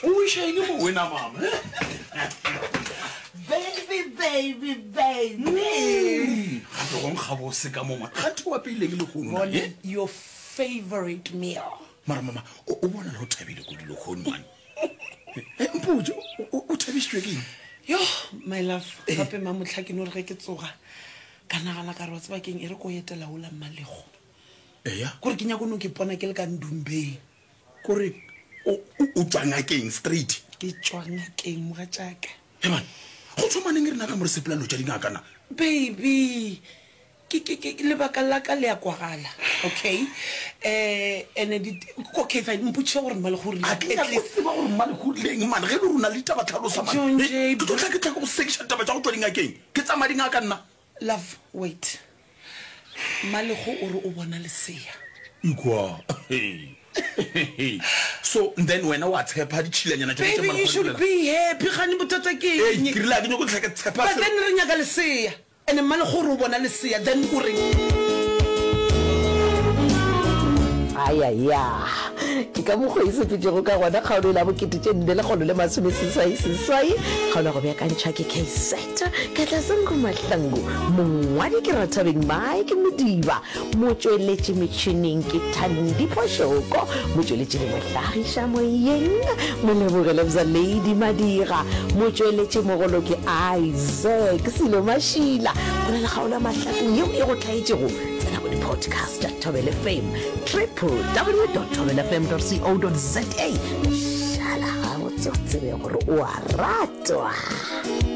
O wiša eng mo wena mama? Baby, baby, baby. Gape go nkga bose ka mo man. Ganthe o apeileng lehono na? Bone Eh? your favorite meal. Mara mama, o o bonala o thabile kudu lehono man. Eh, mpotše, o- o o thabišitšwe ke eng? Yo, my love, gape mamohla ke no re ge ke tsoga ka nagana ka re wa tseba keng e re ko etela ola Mmalego. Eya. Kore ke nyako no ke pona ke le ka ndumbeng. Kore o, o, o tšwa ngakeng straight? Ke tšwa ngakeng mogatšaka. Heman, go thoma neng rena ka mo re sepela lo tša dingaka na? Baby, ke, ke, ke, lebaka la ka le a kwagala, okay? Eh, ene di, okay fine, mpotšiše gore Mmalekgo o rile A ke nyake go tseba gore Mmalekgo o rile eng man, ge e le gore o na le ditaba tlhalosa man. John Jay, Ke tlo tla ke tla ke go sekiša ditaba tša go tšwa dingakeng. Ke tsamaya dingaka nna. Love, wait. Mmalego o re o bona lesea. Ikwa. So then wena wa tshepa ditšhilanyana tšona tše Baby, you Mmalego a di should bolela? be happy. Kgane bothata ke Ei, eng? ke rile ga ke nyake go hlwa ke tshepa But selo. then re nyaka lesea. And Mmalego o re o bona lesea, then o reng? Ayaya! Ke ka mokgwa e sepetšego ka gona kgaolo la bokete tše nne lekgolo le masomeseswai seswai, kgaolo ya go beakantšhwa ke KZ Katlasango Mahlangu, mongwadi ke Rathabeng Mike Modiba, motšweletši metšhineng ke Thandi Phošoko, motšweletši le mohlagiša moyeng Moleboge Lebza Lady Madira, motšweletši mogolo ke Isaac Silo Mašila. Go na le kgaolo ya Mahlakong yeo e go hlaetšego Tsena go di-podcast tša Thobela FM, www.thobelafm.co.za. Šala gabotse o tsebe gore o a ratwa.